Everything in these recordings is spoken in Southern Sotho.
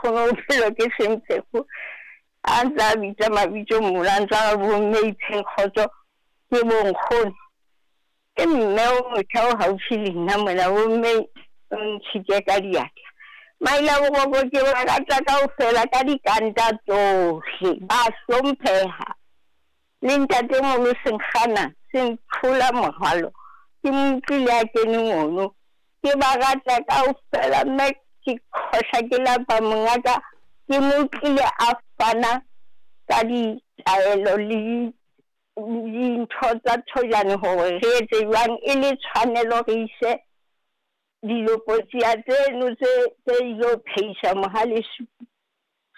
Nkgono bophelo ke sempheko. A ntse a bitsa mabitso mola, a ntse a re bomme ipheng kgotso ke bo nkgono. Ke mme o motjha o haufi le nna mona, bomme o ntshitse ka diatla. Maila boroko ke ba rata kaofela ka dikanta tsohle, ba hlompheha. Le ntatemoholo Senkgana se ntlhola morwalo, ke mo utlwile a kene mono. Ke ba rata kaofela mme ke khohla ke lapa mongaka, ke mo utlwile a fana ka ditaelo le dintho tsa thojane hore re etse jwang e le tshwanelo re ise dilopotsia tseno tse tse ilo pheisa mohale supu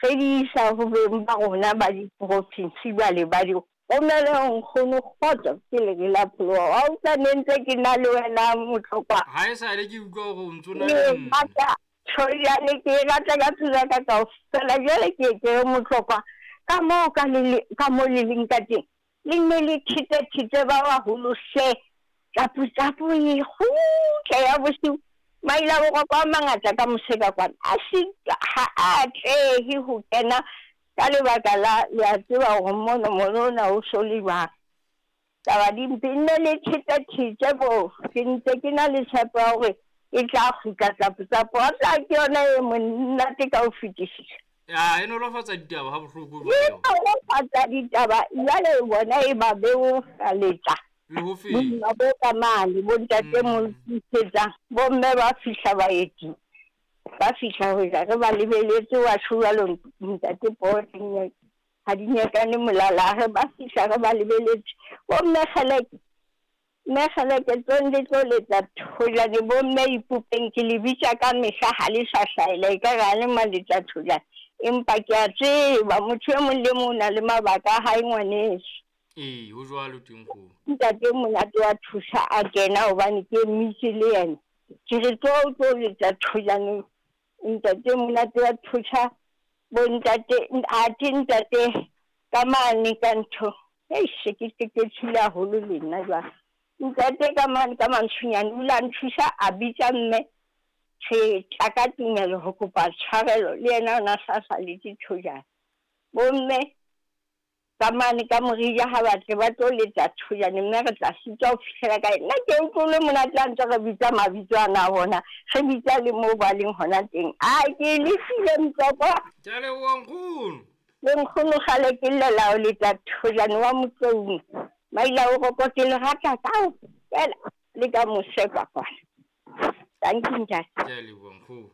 re di isa ho beng ba rona ba diprofinsi jwale ba di romele ho nkgono kgotso ke le ke la pholoha wa utlwa ne ntse ke na le wena motlokwa Ha e sale ke utlwa hore o ntso na le nna. rata thojane ke e rata ka pelo ya ka kaofela jwale ke ke re motlokwa ka moo ka le ka moo le leng ka teng le nne le thete-thete ba baholo hle tlapu-tlapu e kgutle ya bosiu maila boroko a mangata ka moseka kwana a se ha a atlehe ho kena ka lebaka la le a tseba hore mono mono ona o so le jwang taba di mpe nne le thete-thete bo ke ntse ke na le tshepo ya hore e tla kgutla tlapu-tlapu a tla ke yona e monate ka ho fetisisa. Ya e nolofatsa ditaba ha bohloko E jwale. nolofatsa ditaba jwale bona e ba beofaletsa Le ho feta. boima bo ka mane bo ntate mo bomme ba fihla baeti ba fihla ho ja re ba lebeletse wa tjho jwalo ntate Poho ha di nyekane molala re ba fihla re ba lebeletse bomme kgeleke mme kgeleke tsong le tlo letsa thojane bomme ipopeng ke le bitsa ka mehla ha le sa hlahela e ka re ha le maletsa thojane empa ke a tseba motho e mong le mong o na le mabaka a hae ngwaneso. Ee, ho jwalo teng kgomo. Ntate monate wa thusa a kena hobane ke emitse le yena. Ke re tlo o tlo letsa thojane ntate monate wa thusa bo ntate athe ntate ka mane ka ntho. Eish ke ke tshile haholo le nna jwale. Ntate ka mane ka mantshunyane o ile a nthusa a bitsa mme re tla ka tumelo ho kopa tshwarelo le yena o na sa sa letse thojane. Bomme ka mane ka morija ha batle ba tlo letsa thojane mme re tla sitwa ho fihlela kae. Nna ke utlwile monate a ntse re bitsa mabitso ana a bona re bitsa le moo ba leng hona teng. A ke le file Mtswakwa. Ke a leboha nkgono. Le nkgono kgale ke llela ho letsa thojane wa Motloung. Maila o roko ke le rata kaofela le ka mose ka kwana. Thank you ntate. Ke a leboha nkgono.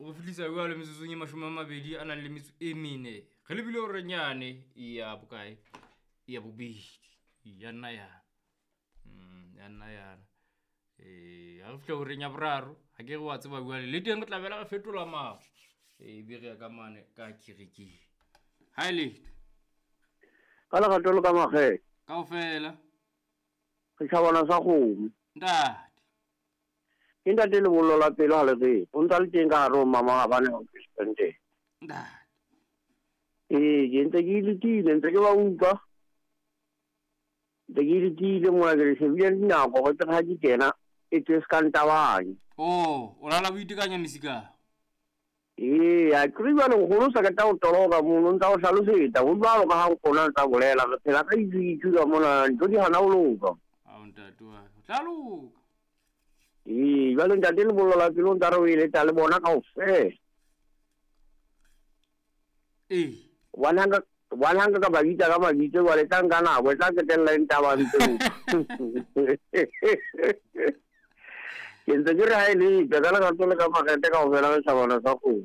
O fihlisa jwale metsotsong e 20 a nang le metso e mene. Re lebile hore nyane ya bokae? Ya bobedi. Ya nna yana. Ya nna yana. Ha re fihla horeng ya boraro, ha ke re wa tseba jwale le teng re tla bela re fetola mao. Be re ya ka mane ka kerekeng. Ha e letho. Ka lerato le ka makgethe. Kaofela. Re tjhabana sa kgomo. Ntate. Ke ntate lebollo la pelo ha le re. O ntsa le teng ka hare ho mama ha bane ho presidente. Ntate. Ee, ke ntse ke letile, ntse ke ba utlwa. Ntse ke letile mona ke le shebile dinako go tle ha ke kena e tswe se ka ntabanye. Oh, o lala boitekanya mesika. Ee, a ke re jwale nkgono sa ka tla o toloka mono ntsa o hlalosetsa ho jwalo ka ha nkgono a ntsa bolela re phela ka itsu ka mona ntho di hana ho loka. Ao ntate wa ka, o tla loka. Ee, jwale ntate lebollo la pelo ntsa re o eletsa le bona kaofela. Ee. Hobane ha nka ka ba bitsa ka mabitso jwale tla nka nako e tla qetella e ntabantse. Ke ntse ke re ha e letsa ka lerato le ka makgethe kaofela re tjhabana sa kgomo.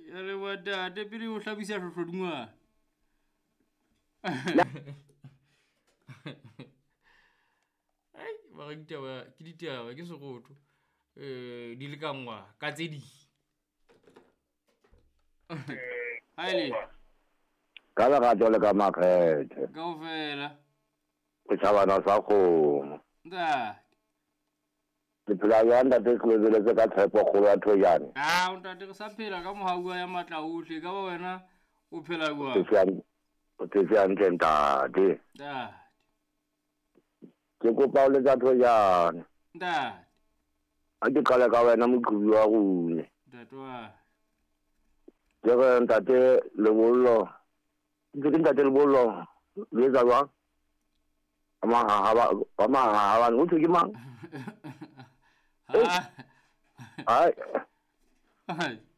Ya leboha ntate pele o hlabisa hlohlodingwana. Ai, ba re ditaba ke ditaba ke sekgotho. Di lekanngwa ka tse ding. Ha e le Ka lerato le ka makgethe. Kaofela. Re tjhabana sa kgomo. Ntate. Le phela jwang ntate ke lebeletse ka tshepo kgolo ya thojane? Ah, ntate re sa phela ka mohau wa ya matla ohle ka ba wena o phela jwang? O phetse hantle ntate. Ntate. Ke kopa o letsa thojane. Ntate. Ha ke qale ka wena moqhubi wa rona. Ntate wa. Ke re ntate Lebollo, ke ntate Lebollo le etsa jwang? Ba o thwe ke mang? Ai.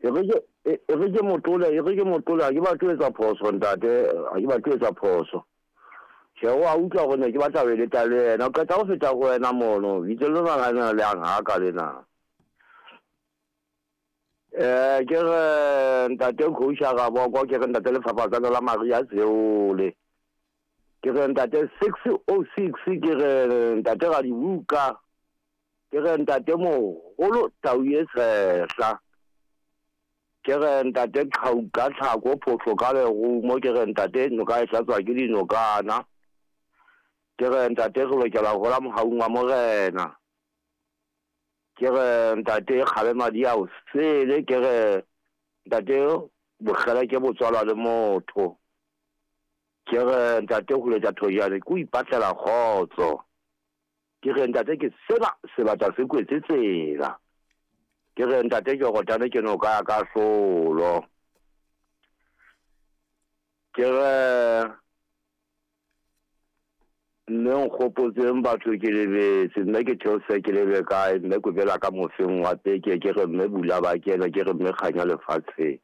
E re ke motole, e re ke motole, ha ke batle ho etsa phoso ntate, ha ke batle ho etsa phoso. Tjhe, wa utlwa hore ne ke batla ho eleta le yena, o qeta ho feta ho wena mono, bitso lena la lena le yang haka lena. Ke re ntate Khousha Raboko, ke re ntate Lefafatsane la Maria Seole. Ke re ntate 606, ke re ntate Radibuka. Ke re ntate Moholo Tau e Tshehla. Ke re ntate Qhauka Tlhako Photlo ka lerumo, ke re ntate noka e hlatswa ke dinokana. Ke re ntate re lokela ho hola mohaung wa morena. Ke re ntate Kgabe madi a o sele, ke re ntate bokgele ke botswalwa le motho. Ke re ntate ho letsa thojane ke o ipatlela kgotso. Ke re ntate ke sena sebata se kwetse tsela. Ke re ntate ke rotane ke noka ya kahlolo. Ke re mme nkgopotseng batho ke lebetse, mme ke theose ke lebe kae, mme ke bela ka mofeng wa peke, ke re mme bula ba kena, ke re mme kganya lefatsheng.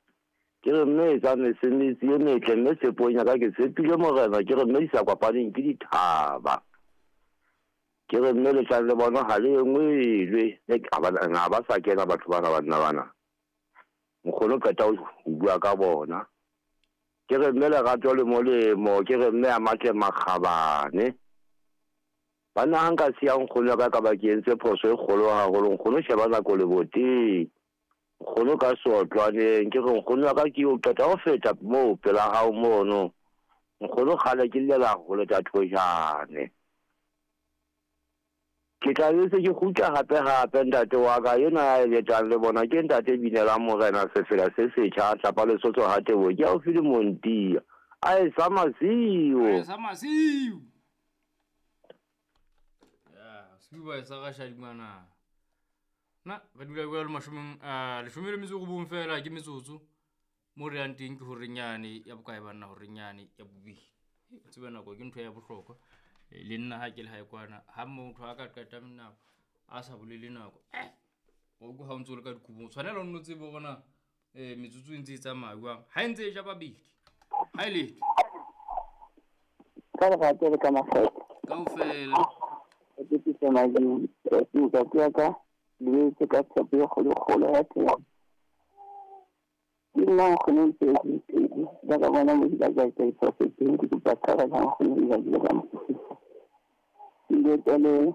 Ke re mme etsa mesebetsi e metle, mme tshepong ya ka ke tshepile morena, ke re mme di sa kopaneng ke dithaba. Ke re mme letlang le bona ha le engwelwe, ha ba sa kena batho bana banna bana. Nkgono qeta ho bua ka bona. Ke re mme lerato le molemo, ke re mme a matle makgabane. Banna ha nka siya nkgono ya ka ka ba ke entse phoso e kgolo haholo, nkgono sheba nako leboteng. Nkgono ka seotlwaneng, ke re nkgono ya ka ke o qeta ho feta moo pela hao mono. Nkgono kgale ke llela ho leta thojane. Ke tla bese ke kgutla hape hape ntate wa ka ena ya eletang le bona ke ntate Binelang Morena sefela se setjha tlapa Lesotho ha Teboho ke haufi le Montia. A e sa masiu. A e sa masiu. Ya, siu ba e sa ga shadimana. Na re dula bua le mashome a 18 fela ke metsotso. Mo re yang teng ke horenyane ya bokae banna horenyane ya bobedi. O tsebe nako ke ntho ya bohlokwa. Le nna ha ke le hae kwana ha motho a ka qeta nako a sa bolele nako o go ha o ntse o le ka dikobong tshwanela o nno tsebe hore na metsotso e ntse e tsamaya jwang ha e ntse e ja babedi ha e letho ka lerato le ka makgetho kaofela ke tsitse madimo ke ya ka le tse ka tshepo e kgolokgolo ya teng ke nna nkgono ntse ba ka bona mo di ka tsa diphoso teng ke kopa tshwarelo nkgono di ba di ka mosisa ke tele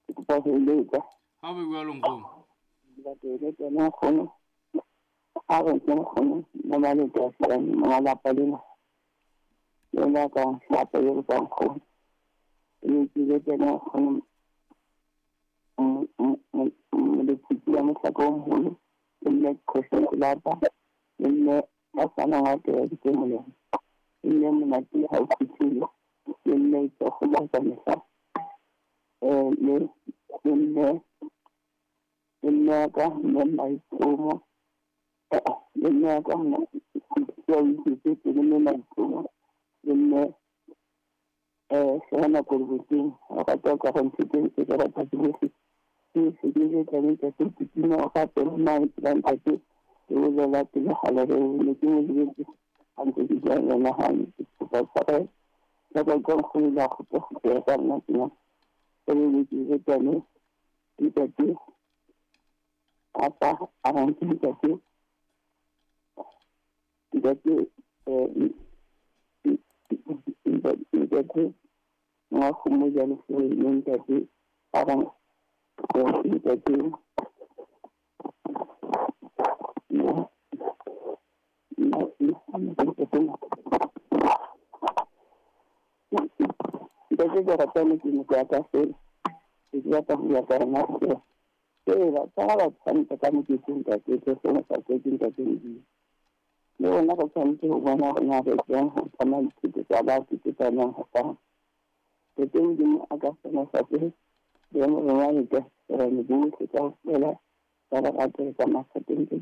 ke kopa ho eletsa ha o bua le nkgono ke eletsa nkgono a re ke nkgono mama le tsa mama lapa lena yona ka hlapa yo ka nkgono ke eletsa nkgono le phutla mohlako o moholo le nne khosi lapa le nne ba sana ngate ya ditemoleng le nne monate ha o fihlile le nne itsogo ka mehla le nne ka mme maitlomo le nne ka mna ke le mme maitlomo le nne sena koloboteng o rata ka go nthuteng ke rata ke se ke tla le ka se o ka pele nna ntate ke bolela pele ga le ne ke mo lebetse ha ntse ke bua le yena hantle ke kopa tshwarelo ka ka nkgono la go tla ka nna tena e le ke tsane ntate apa a rantse ntate ntate ntate ngwa go mo jalo le ntate a rantse ntate ntate ke rata le ke motho ya ka fela ke batla ho ya ka rona fela tsa ba tshwanetse ka moketeng ntate ke sena sa ke ntate Modimo le rona re tshwanetse ho bona hore na re jwang ho tsamaya dithuto tsa batho tse tsamayang ho fana ntate Modimo a ka sena sa tse le rona le ka re bohle kaofela ba lerato le ka makgeteng ke